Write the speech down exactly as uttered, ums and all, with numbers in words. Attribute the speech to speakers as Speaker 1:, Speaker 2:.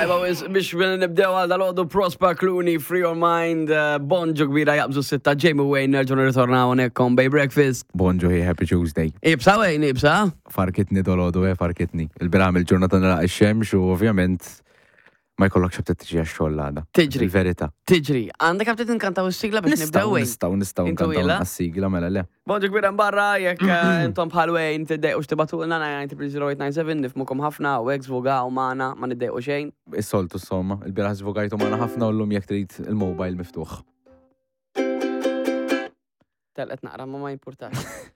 Speaker 1: Tajba, wis biex nibdew għal dal-għodu Prosper Clooney, Free Your Mind, eh, bonġu kbira jaqbżu sitta Jamie Wayne, nerġu nirritornaw hawnhekk Bay Breakfast.
Speaker 2: Bonġu, hey, happy Tuesday.
Speaker 1: Ibsa Wayne, ibsa.
Speaker 2: Farkitni dolodu, eh, farkitni. Il-biram il-ġurnata nara ix-xemx u ovvjament ma jkollokx aptit tiġi għax-xogħol għada.
Speaker 1: Tiġri.
Speaker 2: Il-verità.
Speaker 1: Tiġri, għandek aptit nkantaw is-sigla biex nibdew
Speaker 2: Nistgħu,
Speaker 1: Wayne.
Speaker 2: nistgħu, nistgħu
Speaker 1: Intu
Speaker 2: nkantaw
Speaker 1: ila?
Speaker 2: għas-sigla mela le.
Speaker 1: Bonġu kbira barra, jekk eh, intom bħal Wayne tiddejqu x'tibatulna nine nine zero eight nine seven, nifmukom ħafna u hekk żvugaw magħna, ma niddejqu xejn.
Speaker 2: Is-soltu somma, il-bieraħ żvugajtu magħna ħafna u llum jekk trid il-mobile miftuħ.
Speaker 1: Telqet naqra ma ma jimpurtax.